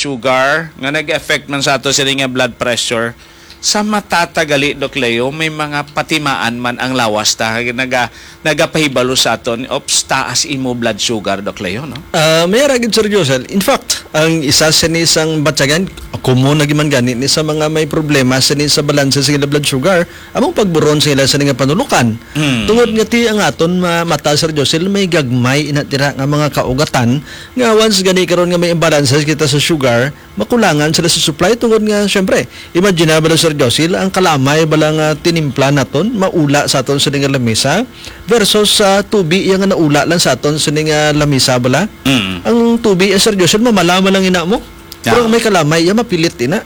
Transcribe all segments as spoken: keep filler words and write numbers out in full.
sugar nga nag-affect man sa ato sini nga blood pressure, sa matatagali, Doc Leo, may mga patimaan man ang lawas ta, naga, nagapahibalo sa aton, "Ops, taas imo blood sugar, Doc Leo," no? Ah, may ara gid, Sir Josel. In fact, ang isa sini sang batyagan, common na giman gani ni sa mga may problema sini sa balanse sa ila blood sugar, among pagburon sa ila sini nga panulukan. Mm. Tungod nga ti ang aton ma-, mata, Sir Josel, may gagmay ina tira nga mga kaugatan nga once gani karon nga may imbalances kita sa sugar, makulangan sila sa supply tungod nga, syempre, imagine na bala, Sir Josil, ang kalamay bala nga tinimpla naton, maula sa aton sa nga lamisa, versus sa tubi iya nga naula lang sa aton sa nga lamisa bala. Mm. Ang tubi, eh, Sir Josil, mamala man lang ina mo. Yeah. Pero ang may kalamay, iya mapilit ina.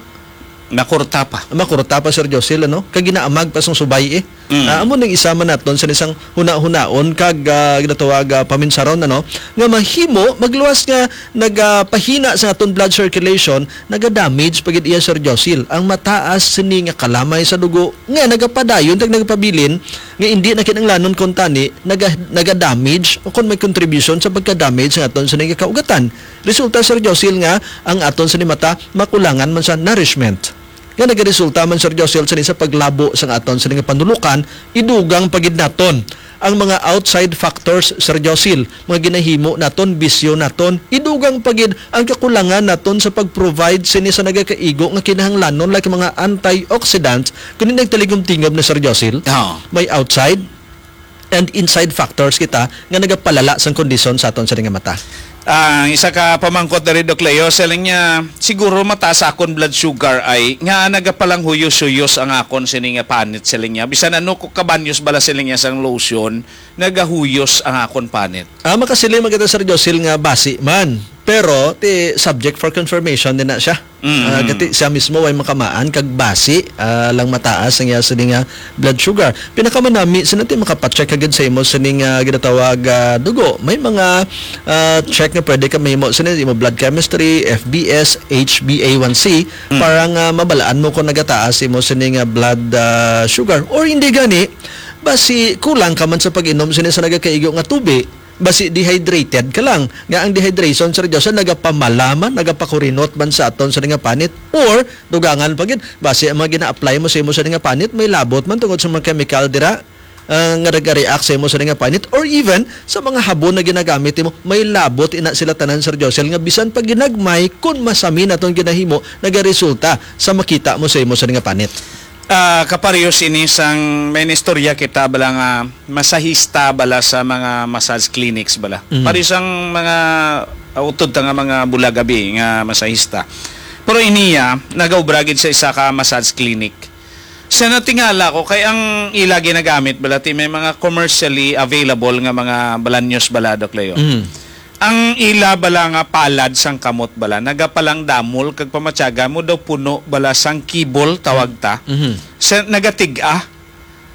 Makurta pa. Makurta pa, Sir Josil, ano? Kag ginaamag pa sang subay, eh. Mm. Ah, amo ning isa man naton sa isang huna-hunaon kag, ah, ginatawag, ah, paminsaron, ano, nga mahimo magluwas nga nagapahina sa aton blood circulation, naga-damage pa gid iya, Sir Josil. Ang mataas sini nga kalamay sa dugo nga nagapadayon kag nagapabilin nga indi na kinahanglanon kon tani naga, naga-damage o kon may contribution sa pagka-damage sa aton sini nga kaugatan. Resulta, Sir Josil, nga ang aton sini mata makulangan man sa nourishment. Nga nagaresulta man, Sir Josel, sini sa paglabo sang aton sini nga panulukan, idugang pa gid naton ang mga outside factors, Sir Josil, mga ginahimo naton, bisyo naton, idugang pa gid ang kakulangan naton sa pag-provide sini sa nagakaigo nga kinahanglanon, like mga antioxidants, kundi nagtaligom-tingog na, Sir Josil. Oo. May outside and inside factors kita nga nagapalala sang kondisyon sa aton sini nga mata. Ang isa ka pamangkot diri, Doc Leo, siling niya, "Siguro mataas akon blood sugar ay nga nagapalanghuyos-huyos ang akon sini nga panit," siling niya. "Bisan ano ko kabanyos bala," siling niya, "sang lotion, nagahuyos ang akon panit." Ah, makasiling man kita, Sir Josil, nga basi man. Pero, ti, subject for confirmation din na siya. Mm. Ah, kati siya mismo way makamaan kag basi, ah, lang mataas ang iya sini nga blood sugar. Pinakamanami, sino ti makapacheck agad sa imo sini nga ginatawag, ah, dugo? May mga, ah, check nga pwede ka mahimo sini, imo blood chemistry, F B S, H b A one C, Mm. para nga mabalaan mo kung nagataas imo sini nga blood, ah, sugar. Or hindi gani, basi kulang ka man sa pag-inom sini sa nagakaigo nga tubi. Basi dehydrated ka lang. Nga ang dehydration, Sir Josel, nagapamala man, nagapakurinot man sa aton sa nga panit, or dugangan pa gid, basi ang mga gina-apply mo sa imo sa nga panit, may labot man tungod sa mga chemical dira, ah, nga nag-react sa imo sa nga panit, or even sa mga habon na ginagamit nimo, may labot ina sila tanan, Sir Josel, nga bisan pa ginagmay, kun masami na tong ginahimo, nagaresulta sa makita mo sa imo sa nga panit. Ah, kapareho sini sang may istorya kita bala nga masahista bala sa mga massage clinics bala. Mhm. Pareho sang mga, ah, utod ta nga mga bulaga bi nga masahista. Pero iniya, nagaobra gid sa isa ka massage clinic. Sa natingala ko, kay ang ila ginagamit bala, ti may mga commercially available nga mga balanyos bala, Doc Leo. Mhm. Ang ila bala nga palad sang kamot bala, nagapalangdamol kag pamatyaga mo daw puno bala sang kibol, tawag ta. Mhm. Sa, nagatig-a,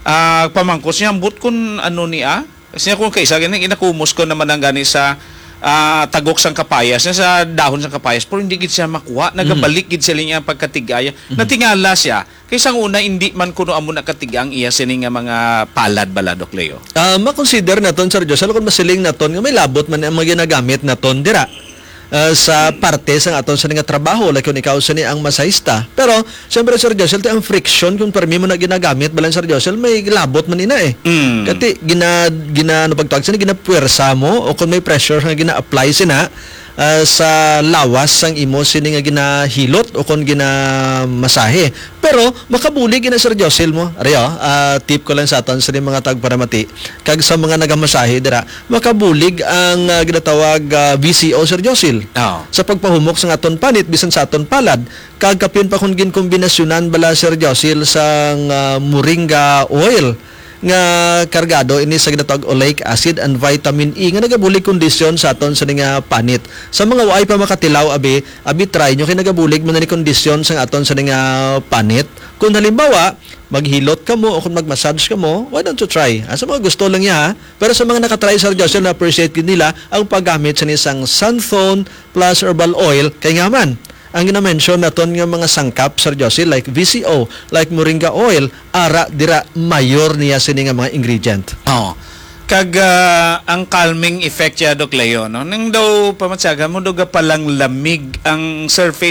ah, pamangkot siya, "Ambot kun ano ni, ah?" Kasi kung kaisa, gani, ginakumos ko naman ang gani sa, ah, tagok sang kapayas, sa dahon sang kapayas, pero hindi gid siya makuha. Mhm. Nagabalik gid sila niya ang pagkatig-a. Mhm. Natingala siya, kay sang una, hindi man kuno amo nakatiga ang iya sini nga mga palad bala, Doc Leo. Ah, makonsider naton, Sir Josel, kung masiling naton nga may labot man ang mga ginagamit naton dira, ah, sa parte sa aton sini nga trabaho, like kung ikaw sini ang masahista. Pero, siyempre, Sir Josel, ti ang friction kung permi mo na ginagamit, balan, Sir Josel, may labot man ina eh. Mm. Kati, gina, gina, ano pagtawag sini, ginapuwersa mo, o kung may pressure nga gina-apply sina, ah, sa lawas sang imo sini nga ginahilot o kon ginamasahe. Pero makabulig ina, Sir Josil, mo. Ari, oh, ah, tip ko lang sa aton sini mga tagparamati kag sa mga nagamasahe dira, makabulig ang, ah, ginatawag, ah, V C O, Sir Josil. Oo. Sa pagpahumok sa aton panit bisan sa aton palad, kag kapin pa kung ginkombinasyonan bala, Sir Josil, sang, ah, moringa oil nga kargado ini sa ginatawag oleic acid and vitamin E nga nagabulig kondisyon sa aton sini nga panit. Sa mga waay pa makatilaw, abi, abi try nyo kay nagabulig man ni kondisyon sa aton sini nga panit. Kung halimbawa, maghilot ka mo o kung mag-massage ka mo, why don't you try? Ah, sa mga gusto lang niya, ha? Pero sa mga nakatry, Sir Joseph, na-appreciate gid nila ang paggamit sa isang Santhon plus herbal oil kay nga man ang gina-mention naton nga mga sangkap, Sir Josie, like V C O, like moringa oil, ara dira mayor niya sini nga mga ingredient. Oo. Kag, ah, ang calming effect siya, Doc Leo, no? Nang daw pamatsagan mo, daw gapalang lamig ang surface